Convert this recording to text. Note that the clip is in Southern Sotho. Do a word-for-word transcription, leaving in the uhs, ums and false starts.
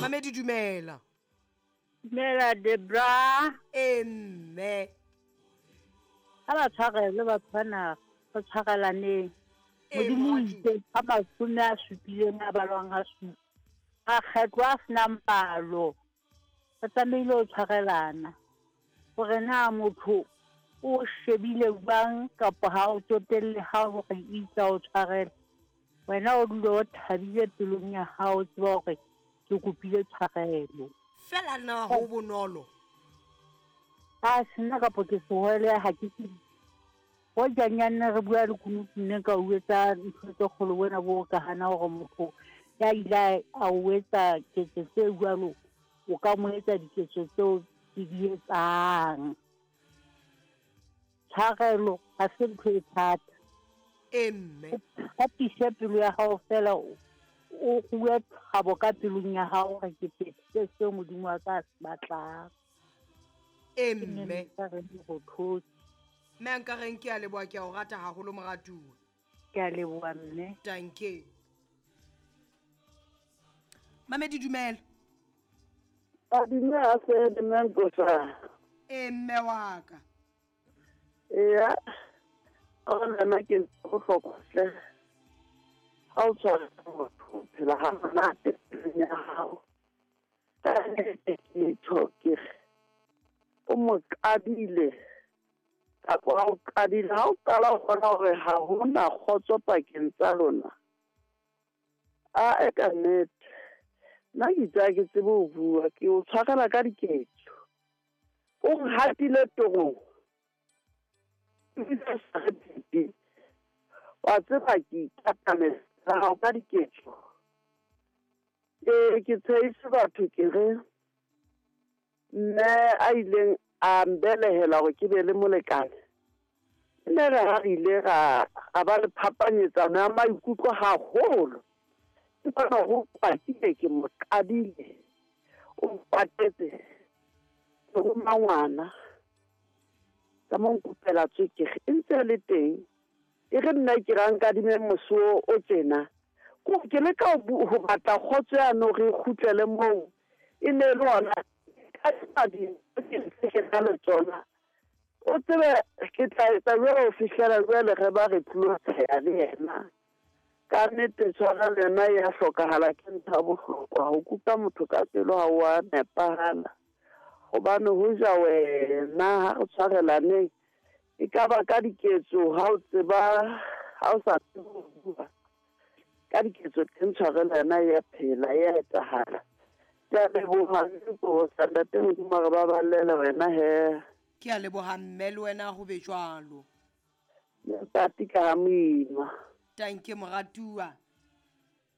Mamedi dumela. Dumela Debra. E mme. Ha ba tshwarele batho bana, ba tshwarelaneng. Modimo o itse ha mashome a supileng a balwang ha supa. Makgetlo a senang palo. Ba tlamehile ho tshwarelana. Hore na motho o shebile jwang kapa ha o tsotelle ha hore itsa o tshwarela. Wena o dule o thabile pelong ya hao, tseba hore ke kopile tshwarelo. Fela na ho bonolo. A sena kapo ke sehwele ha ke tsebe. Ho janyane re bua le kunutu nne ka o etsa ntho tse kgolo wena bo ka hana hore motho ya ile a o etsa ketso tse jwalo, o ka mo etsa diketso tseo ke di etsang. Tshwarelo ha se ntho e thata. E mme. O thapise pelo ya hao fela, o rue thabo ka pelong ya hao hore ke phethile seo Modimo wa ka a se batlang. E mme. Ke Mme a nkareng ke a leboha, ke a o rata haholo moratuwa. Ke a leboha mme. Danke. Mamedi dumela. A dumela se mme Nkosa. E mme wa ka. Eya. Ona nna ke bohlokwa hle. Ha o tshwara motho phela ha monate pelong ya hao. Ka nnete ke tjho ke re, o mo qadile kapa ha o qadile, ha o qala ho bona hore ha hona kgotso pakeng tsa lona. A e ka nnete. Nna ke itse ha ke tsebe ho bua, ke o tshwarela ka diketso. O nhatile torong. Ebile o sa re phepe. Wa tseba ke ikatamela hao ka diketso. Ee, ke tshehise batho ke re mme a ileng a mbelehela hore ke be le molekane. Nne re ha re ile ra, ra ba le phapanyetsano ya maikutlo haholo. Ke bona ho kwatile, ke mo qadile. O mpatetse. Ke roma ngwana. Ka mo nkopela tswekere e ntse le teng. E re nna ke ra nkadime mosuo o tjena. Ko ke leka ho bu-, ho batla kgotso yane hore e kgutlele moo. E ne le hona ka dintho ke ntse ke na le tsona. O tsebe ke tla etsa jwalo ho fihlela jwale re ba re tlilo tsheha le yena. Ka nnete tshwarelo yona e ya hlokahala, ke ntho ya bohlokwa. Ho kuka motho ka pelo ha wa nepahala. Hobane ho ja wena ha re tshwarelaneng, e ka ba ka diketso ha o tseba, ha o sa tsebe ho bua. Ka diketso teng tshwarelo yona e ya phela, e ya etsahala. Ke a leboha Nkosa, Ntate Modimo a re baballele wena he. Ke a leboha mme le wena ho be jwalo. Ntate ka ha moima. Tanke moratuwa.